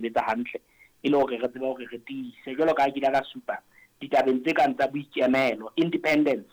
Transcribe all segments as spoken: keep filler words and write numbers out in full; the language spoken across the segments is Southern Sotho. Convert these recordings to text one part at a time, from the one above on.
Sebetsa hantle e le hore re tsebe hore re tiise jwalo ka ha ke ile ka supa ditabeng tse kang tsa boikemelo, independence.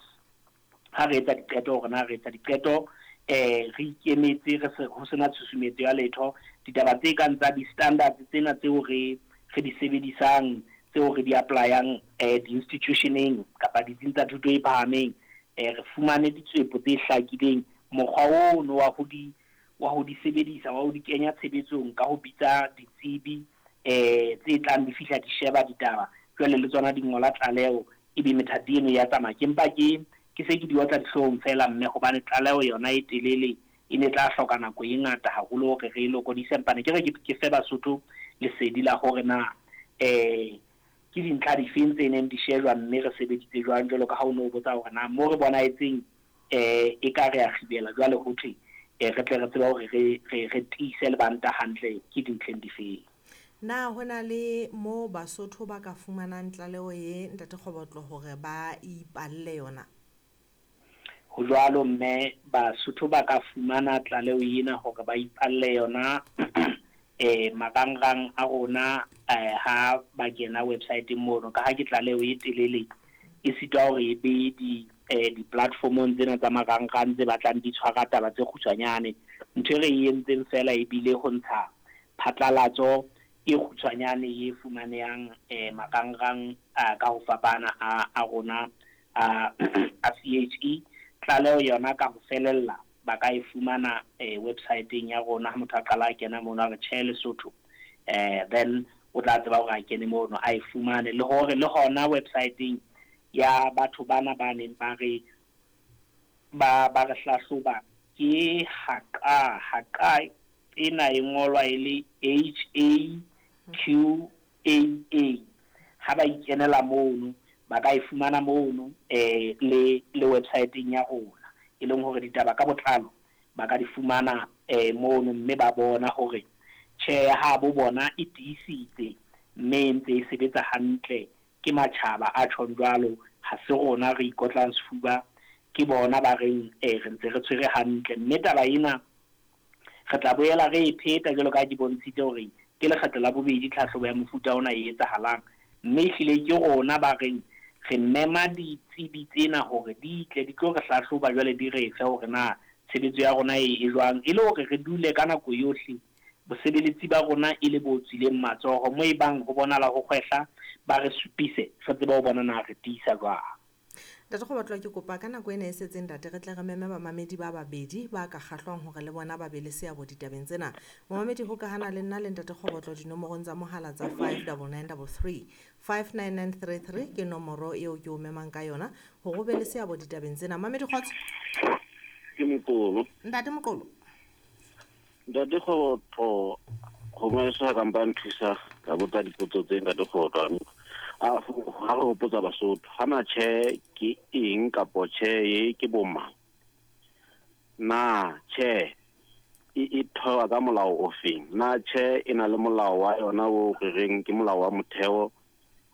Ha re etsa diqeto, hore na re etsa diqeto eh re ikemetse, re se ho sena tshusumetso ya letho. Ditaba tse kang tsa di-standards tsena tseo re re di sebedisang, tseo re di apply-ang eh di-institutioneng kapa ditsing tsa thuto e phahameng, eh re fumane ditswepo tse hlakileng. Mokgwa ono wa ho di wa ho di sebedisa, wa ho di kenya tshebetsong ka ho bitsa ditsebi eh tse tlang di fihla di sheba ditaba, jwale le tsona di ngola tlaleho, ebe methati eno ya tsamaya. Ke mpa ke ke se ke di otla dihloohong fela, mme hobane tlaleho yona e telele, e ne tla hloka nako e ngata haholo hore re e lokodise. Mpane ke re ke fe Basotho lesedi la hore na eh ke dintlha difeng tse neng di shejwa, mme re sebeditse jwang, jwalo ka ha o no botsa hore na mo re bonahetseng eh e ka re a kgibela jwale ho thwe eh re tle re tsebe hore re re re tiise lebanta hantle ke dintlheng difeng. Na ho na le mo Basotho ba ka fumanang tlaleho ye, Ntate Kgobotlo, hore ba ipalle yona? Ho jwalo, mme Basotho ba ka fumana tlaleho ena hore ba ipalle yona eh marangrang a rona eh ha ba kena website mono, ka ha ke tlaleho e telele, e sitwa hore e be di eh di-platformong tsena tsa marangrang tse batlang di tshwara taba tse kgutshwanyane. Ntho e re e entseng fela ebile ho ntsha phatlalatso e kgutshwanyane e fumanehang eh marangrang a ka ho fapana a a rona a a C H E. Tlaleho yona ka ho felella ba ka e fumana eh website-eng ya rona. Ha motho a qala a kena mono a re tjhe Lesotho, eh then o tla tseba hore a kene mono a e fumane. Le hore le hona website-eng ya batho bana ba neng ba re ba ba re hlahloba ke haqa haqa ena e ngolwa e le H A Q A A. Ha ba ikenela mono ba ka e fumana mono eh le le website-eng ya rona, e leng hore ditaba ka botlalo ba ka di fumana eh mono, mme ba bona hore tjhe ha bo bona e tiisitse mme e ntse e sebetsa hantle. Ke matjhaba a tjhong jwalo, ha se rona re ikotlang sefuba, ke bona ba reng eh re ntse re tshwere hantle. Mme taba ena re tla boela re e pheta jwalo ka ha ke bontshitse hore ke lekgetlo la bobedi tlhahlobo ya mofuta ona e etsahalang, mme ehlile ke rona ba reng re mema ditsebi tsena hore di tle di tlo re hlahloba jwale, di re fe hore na tshebetso ya rona e e jwang, e le hore re dule ka nako yohle bosebeletsi ba rona e le bo tswileng matsoho. Mo e bang ho bonahala ho kgwehla, ba re supise, re tsebe ho bona na re tiisa jwang. Ntate Kgobotlo, ke kopa ka nako ena e setseng, ntate, re tle re meme bamamedi ba babedi ba ka kgahlwang hore le bona ba be le seabo ditabeng tsena. Momamedi hokahana le nna le Ntate Kgobotlo dinomorong tsa mohala tsa five double nine double three, five nine nine three three ke nomoro eo ke o memang ka yona hore o be le seabo ditabeng tsena. Mamedi, kgotso. Ke Moqolo. Ntate Moqolo. Ntate Kgobotlo, gongwe sa ka mpa nthusa ka botsa dipotso tse Ntate Kgobotlo. A ha re hopotsa Basotho, ha na tjhe ke eng kapo tjhe e ke bo mang? Na tjhe e e thewa ka molao o feng? Na tjhe e na le molao wa yona o re reng ke molao wa motheo,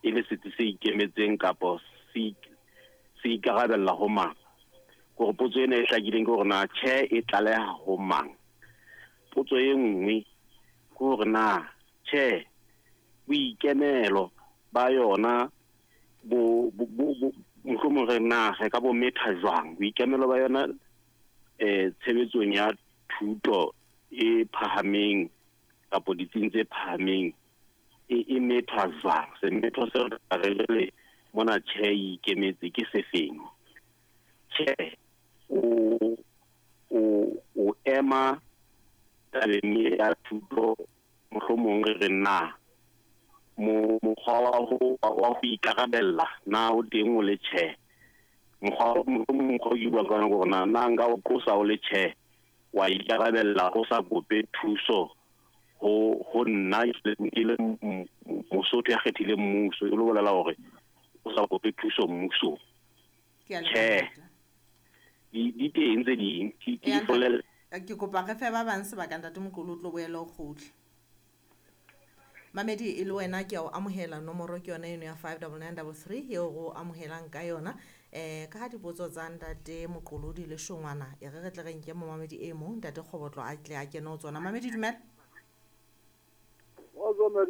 e le setsi se ikemetseng kapo se se ikarabella ho mang? Hore potso ena e hlakileng ke hore na tjhe e tlaleha ho mang? Potso e nngwe ke hore na tjhe boikemelo ba yona bo bo bo mohlomong re na re ka bo metha jwang boikemelo ba yona eh tshebetsong ya thuto e phahameng kapo ditsing tse phahameng e e methwa jwang? Semetho se re le mona tjhe e ikemetse ke sefeng? Tjhe o o o ema tabeng ya thuto, mohlomong re re na mo mokgwa wa ho wa ho ikarabella na o teng o le tjhe? Mokgwa mohlomong mokgwa o ke bua ka ona ke hore na na nka o qosa o le tjhe, wa ikarabella o sa kope thuso ho ho nna ke le Mosotho ya kgethileng mmuso, e lo bolela hore o sa kope thuso mmusong. Ke a Tjhe. leboha. Di di teng tse ding, ke ke Eya, di folele. Ke kopa re fe ba bang sebaka, Ntate Moqolo, o tlo boela o kgutle. Mamedi, e le wena ke a o amohela, nomoro ke yona eno ya five double nine double three eo re o amohelang ka yona. Eh ka ha dipotso tsa Ntate Moqolo di le shongwana, e re re tle re nke momamedi e mong, Ntate Kgobotlo a tle a kene ho tsona. Mamedi, dumela.